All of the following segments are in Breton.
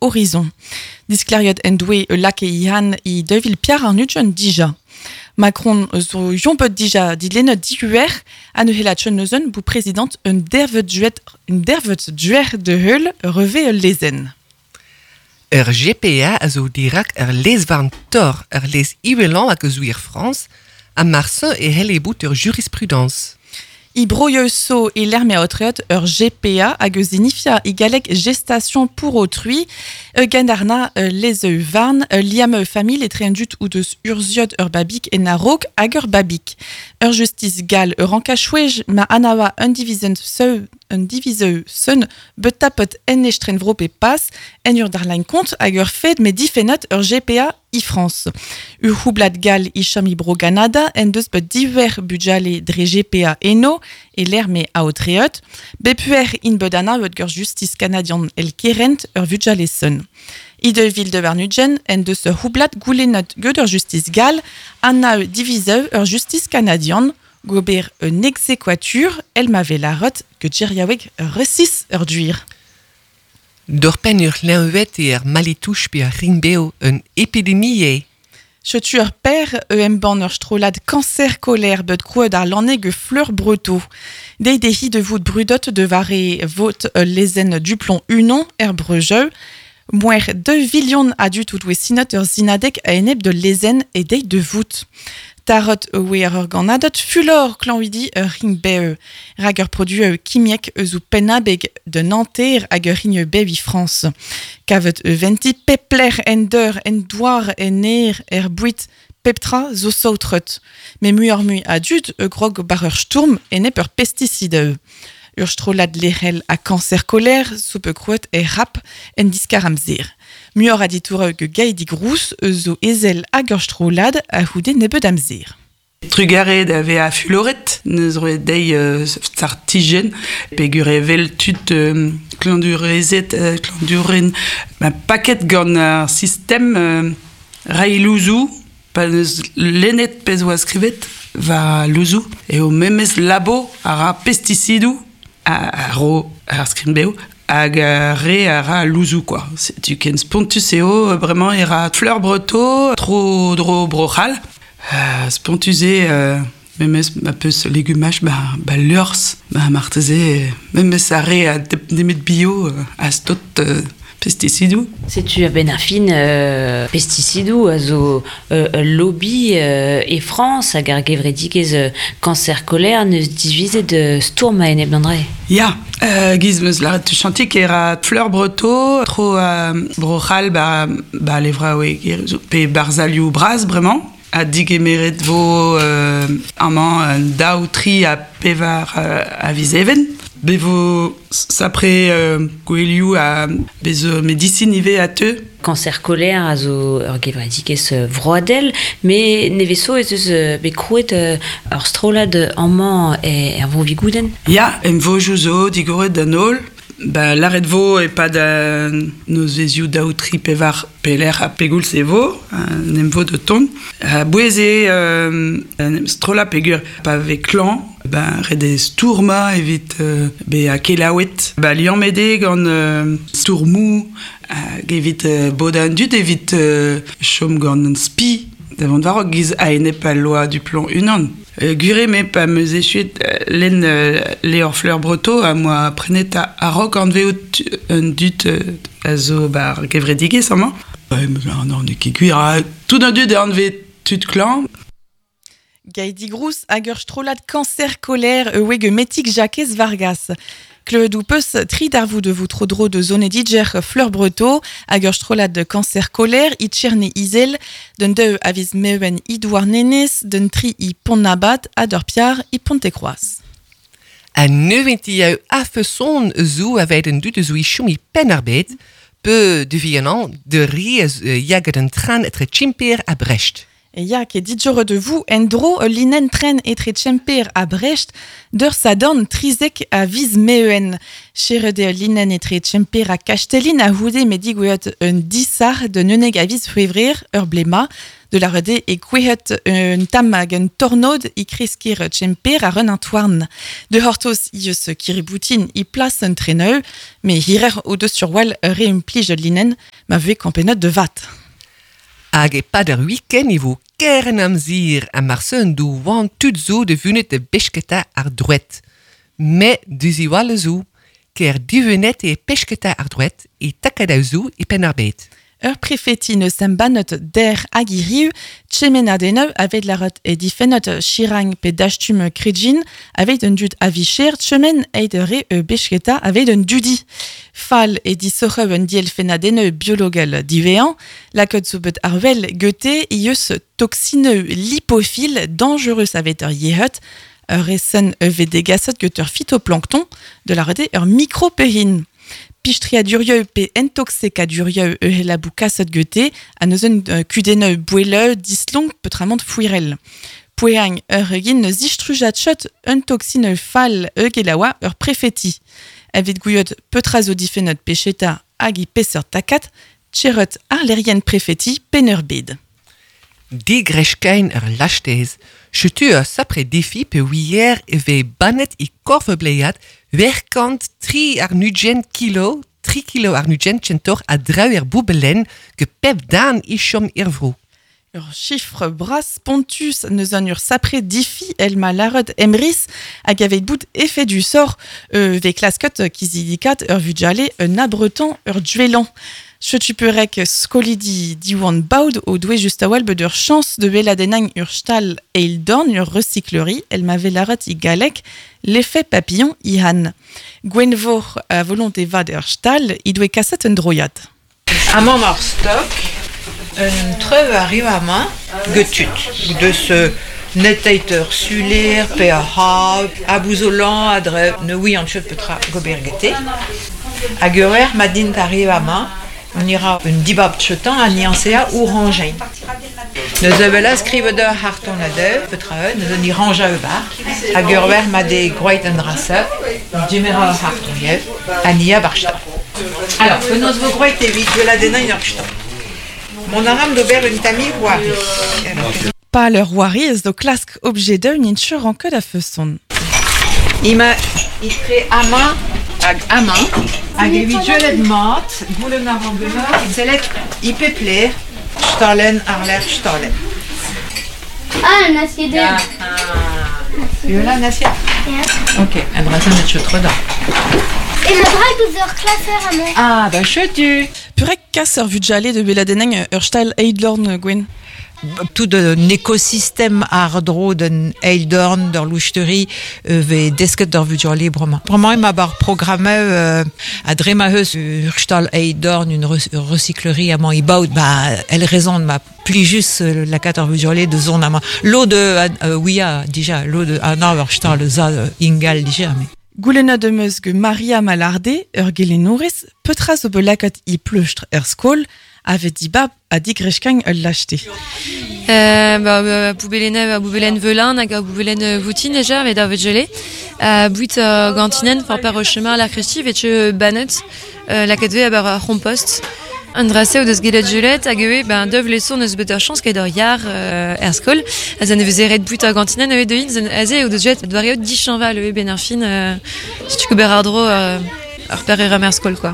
Horizon. Diskleriet en doe e lake ihan i 2024 dija. Macron zo jompet dija dilennet dihuer ha ne hela tchon neuzen bou prezident un dervet duer de heul reve ul lezen. Ur GPA a zo dirak ur lezvarn tor, ur lez iwelan hag eus wir Frans, ha marse e helle bout ur jurisprudence. I broioù e lerme aotreet ur GPA hag eus inifia i galleg gestation pour autrui, e gendarna lezeu varn, liam famil etre un dut ou deus urziot ur babik en a-raok hag ur babik. Ur justice gal ur ankachouej ma anawa un divizent seu un diviseu sun bet tapet en estren vro pe pas en ur darlain kont hag ur fed me difennet ur GPA i France. Ur houblad gal i chom i bro Canada en deus bet diver budjale dre GPA eno e l'er me aotreet, bepuer in bet anavet gur justice canadian el kerent ur vudjale sun. I de vil de Varnudjen en deus ur houblad goulennet gant ur justice gal anaeu diviseu ur justice canadian gober un exequatur el ma velarot que djeriaweg resis ur duir. D'ur pen ur lenwet e ar malitouch pe ar ringbeo un epidemie e. Chetu ur per e emban ur strolad cancer colère bet krouet ar lanneg fleur breto. Dei dehi de vout brudot de vare vot lezen duplon unon er brejeu, Moer 2 vilion a dut out sinot ur zinadek a enep de lezen e dei de vout. Tarot oe ar ur ganadot fulor klanvidi ur ring beu. Rag ur produ eo kimiek eus ou pennabeg de Nanterre hag ur ring bev i France. Kavet e venti pepler en deur en douar en er er bouit peptra zo saotrut. Me mui ar mui a dud e grog bar ur stourm enep ur pesticide eo. Ur strolad lerel a cancer colère, soupe krouet e rap en diskar amzer. Muioc'h a ditoureu ge gaidi grous eus zo ezel hag ur strolad a houde nebeud amzer. Trugarez da veza fuloret, neus roet dezhi startijenn, peogwir evel tud klandurezed, klanduren, ma paket gant ar sistem reiñ louzoù, pa neus lennet pezh oa skrivet war louzoù, eo memes labo a ra pestisidoù a ro ar skrin-bev hag ar re a ra louzoù kwa. Setu ken spontus eo bremañ e ra Fleur Breteau tro-dro Bro-C'hall. Spontus eo memes ma peus legumaj ba liorzh ba marteze memes ar re a nemet bio a stot pestisidoù. Setu a-benn ar fin pestisidoù a zo ul lobby e Frañs hag ar gevredigezh Cancer Colère n'eus divizet stourm a-enep d'an dra. Ya, giz 'm eus lâret tuchantik e ra Fleur Breteau tro Bro-C'hall ba, ba levraoueg pe barzhalioù bras bremañ. Ha digemeret vo amañ un daou, tri ha pevar a viz Even. Bez vo sapre gouelioù ha bez zo medisin ivez a teu. Cancer Colère a zo ur gevredigezh vroadel, met nevez zo ez eus bet krouet ur strollad amañ er Vro-Vigoudenn. Ya, emvojoù zo digoret d'an holl. Ba, lâret vo e-pad an nozvezhioù daou, tri, pevar pelec'h ha pegoulz e vo, un emvod o tont. A-bouez eo en em strollañ peogwir pa vez klañv, ben, ret eo stourmañ evit bezañ kelaouet. Ba, liammet eo gant stourmoù hag evit bodañ an dud evit chom gant un spi da vont war-raok giz a-enep al loa du plomb unan. Gwir eo me pa 'm eus echuet lenn levr Fleur Breteau am boa prenet a-raok anvezout un dud a zo 'ba ar gevredigezh amañ. Non, n'eo ket gwir, tout an dud e anvez tud klañv. Gaidi Grous hag ur strollad Cancer Colère e Metig Jakez Vargas. Klevet ho peus tri darvoud vo tro-dro de zonediger Fleur Breteau hag ur strollad Cancer Colère i Tcherne Izel, d'un deu a viz Meven i Douarnenez, d'un tri i Pont-Nabat ha d'ur piar i Pontekroaz. Ha neuventi eo a-feson zo aveit an dud zo i chom i Penn-ar-Bed, pe de vihanan de re yaget an tren etre Tchimper ha Brest. E ya, ket dit de vous en-dro ul linenn tren etre Tchemper ha Brest d'ur sadorn trizek a viz Meuen. Cheret eo linenn etre Tchemper ha Kastellin a houde me digoueet un disar d'un uneg a viz C'hwevrer ur blema. De la rede e kouehet un tam hag un tornod i kreskir tchemper ar un antouarn. De hortos i eus kiriboutin i plas un treneu, me hirer o deus sur wal re un plij linen ma ve kampenot de vat. Hag e pad ar week-end e vo kern amzir a marseun do wan tud zo de vunet de besketa ar droet. Me duziwale zo, ker divenet e pesketa ar droet e takada zo e pen ar bet. Ur prefeti neus embannet der hag hiriu, tchemenadeneu avet larot e difennot chirang pe dastum kredjin avet un dud avicher tchemen eid re e besketa avet un dudi. Fall e disoc'heu un dielfennadeneu biologel divean, lakot zo bet arvel gete ieus toxineu lipophile dangereux avet ur yehut, ur esen eve degasot get ur phytoplancton de la rede ur micropehin. Pistriadurieu pe intoxecadurieu ehelabou kasot gete, a neuzen kudeneu boueleu dislong peutramant fouirel. Poeang ur egin neus istrujat un toxine fall eugelaoa ur prefeti. Evet gouiot peutra zo difennot pecheta hag i peseurt takat, tcherot ar lerien prefeti peneur bed. Digrechkein ur lastez. Chetu ur sapre defi pe ouier e ve bannet i korvebleiad werkant 3 ar nugent kilo, 3 kilo ar nugent tchentor a drau er boubelen ge pep dan ichom irvro. Ur chiffre bras pontus neus an ur sapre difi el ma larod emris hag avet bout effet du sort ve klaskot kizidikat ur vudjale un abretan ur duelan. Chetu perek skolidi diwan baud o doue just a-wel bet ur chance de beladenang ur stal eildorn ur recyclerie el ma velarat i galek l'effet papillon ihan. Gwenvor a volonté vad ur stal i doue kaset un droiad. Amañ ar stok, un treuv arrive amañ getut, deus neteit ur suler pe ar ha, a bouzolan a dre ne oui an chet petra gober gete. Hag ur er ma dint arrive amañ, on ira un dibab chetan a niansea ou rangein. Neus evela skrive de harton a dev, petra e, neus an ranja e bar, hag ur wer ma de groeit an drasa, dimera ur harton yev, a nia barchta. Alors, penaos vo groeit evit de la denañ ur chtan. Mon aram d'ober un tami roari. Pa leur roari ez do klask objet d'un inchur an ket a feson. Ima itre amañ hag amañ, hag evit jelet mat, goulenn ar an genor, sellet i pepler, stalen ar ler stalen. Ah, un acier de... Yola, un acier? Ja. Ok, an drasen et chetre da. Et ma drague ouz ur klasser amañ. Ah, bah chetu. Purek kas ur vudjale de beladeneng ur stal eidlorn, Gwen. Tout un écosystème ardro d'un eildorn, d'ur loucheterie, ve desket d'ur vudjale bremañ. Bremañ ema bar programme a dre ma heus ur stal eildorn, une recyclerie amañ i baout, ba, el raison ma pli just la kat ur vudjale de zon amañ. Lo de, ouia, dija, lo de, ah, non, ur stal za ingal dija, mais. Goulenna de meus ge Maria Malarde, ur gelenourez, petra zo belakat i pleustr er skol, avet dibab a digrechkang ul lachte. Ba, poubelen, poubelen velin, hag a poubelen voutin déjà, met ar vetjele. Buit gantinen, for per chemin la Christi, vetche banet, la katve a bar ar compost. An drase o deus gelet gelet, hag eo, ben, dev leson eus bet ur chance ket ur yar er skol. A zan eveze ret buit ar gantinen, eo de zan aze o deus jet doare eo dichanval eo ben ar fin, setu gober ar dro ar per er am er skol, quoi.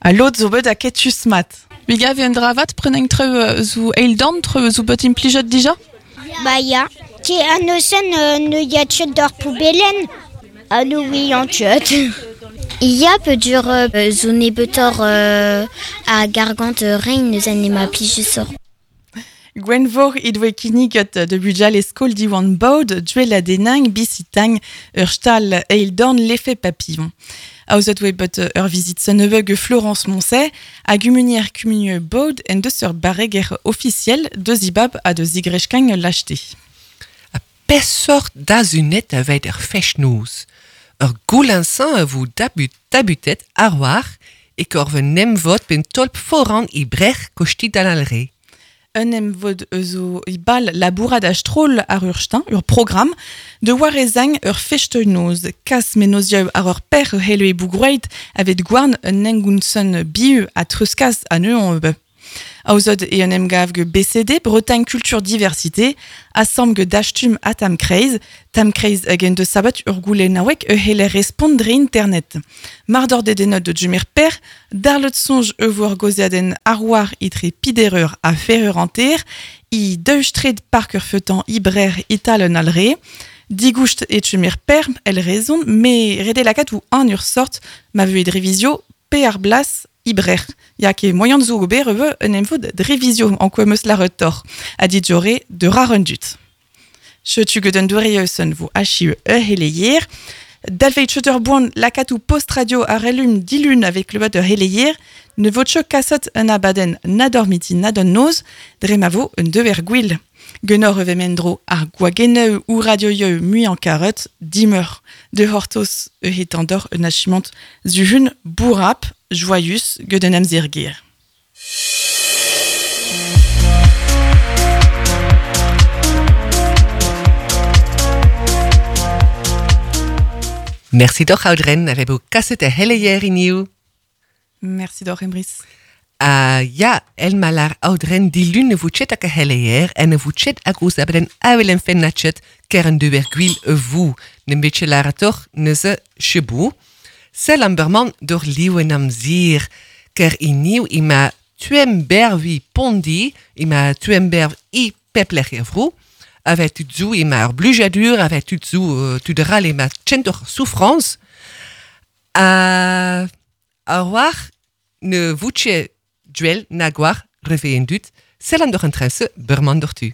A lod zo bet a ketus mat. Biga vi un dravat preneng treu zo eildorn, treu zo bet implijet dija? Ba ya. Ti an osen ne ya tchet d'ar poubelen. A no oui an tchet. Ya pe dur zo nebetor a gargant rein neus an ema plije sor. Gwenvor i doe kinniget de budjal e skol diwan baud, duel a denang, bisitang, ur stal eildorn l'effet papillon. Aozet oe bet ur vizit seunebeug Florence Moncey, a gumunier kumunieu baud en deus ur barreger officiel de zibab a de zigrechkang lachte. A pesort dazunet a veit ur fech-noz. Ur goulinsan a vo tabutet ar war e korve nemvot ben tolp foran i brech kosti d'an alre. Un emvod eus o i bal labourad a stroll ar ur stin, ur program, de war ezang ur festeunoz, kas menozieu ar ur per hele e bougroeit avet gwarn un engounson biu a treuskas a neuan ebe. Aozet e un emgav ge BCD, Bretagne Culture Diversité, asam ge dastum a Tamkreiz, Tamkreiz hag en deus sabat ur goulennaoueg e heller respont dre internet. Mar d'or dedennet de jumer per, darlet sonj e vo ar goziaden arwar itre pidereur a ferreur anter, i deustred park ur feutan ibrer ital un alre, Digoust e chumer per, el rezon, me rede lakat ou an ur sort ma veu e drevizio pe ar blas ibrer. Ya ke moyen zo ober e un emvod drevizio en quoi meus la retor, a dit jore de rarundut. Chetu geden dourieus vo achiu e heleyer. Dalveit cheter boan lakatou post-radio a relum dilun avec le de heleyer, ne vo tcho kasot un abaden na dormiti na don noz, dre ma vo un dever gwil. Genor e vemendro ar gwageneu ou radio mui en karot, dimeur de hortos e hetandor un achimant zuhun bourrap, joyous, geden amzirgir. Merci doch, Audren, a vebo kaset e heleyer iniu. Merci doch, Emrys. Ja, el malar Audren dilun ne voutchet hag a heleyer en ne voutchet hag ouz abeden awel en fennatchet ker an dever gwil e vou. Ne betche lara toch neuze chebou. Sel an berman dor liwen am zir, ker iniu ima tuembervi pondi, ima tuemberv i pepler er vrou, avec tu zou ima ur blujadur, avec tu zou tu dral ima tchentor souffrance, a war ne voutche duel na gwar reveen dut, sel an dor an tresse berman dor tu.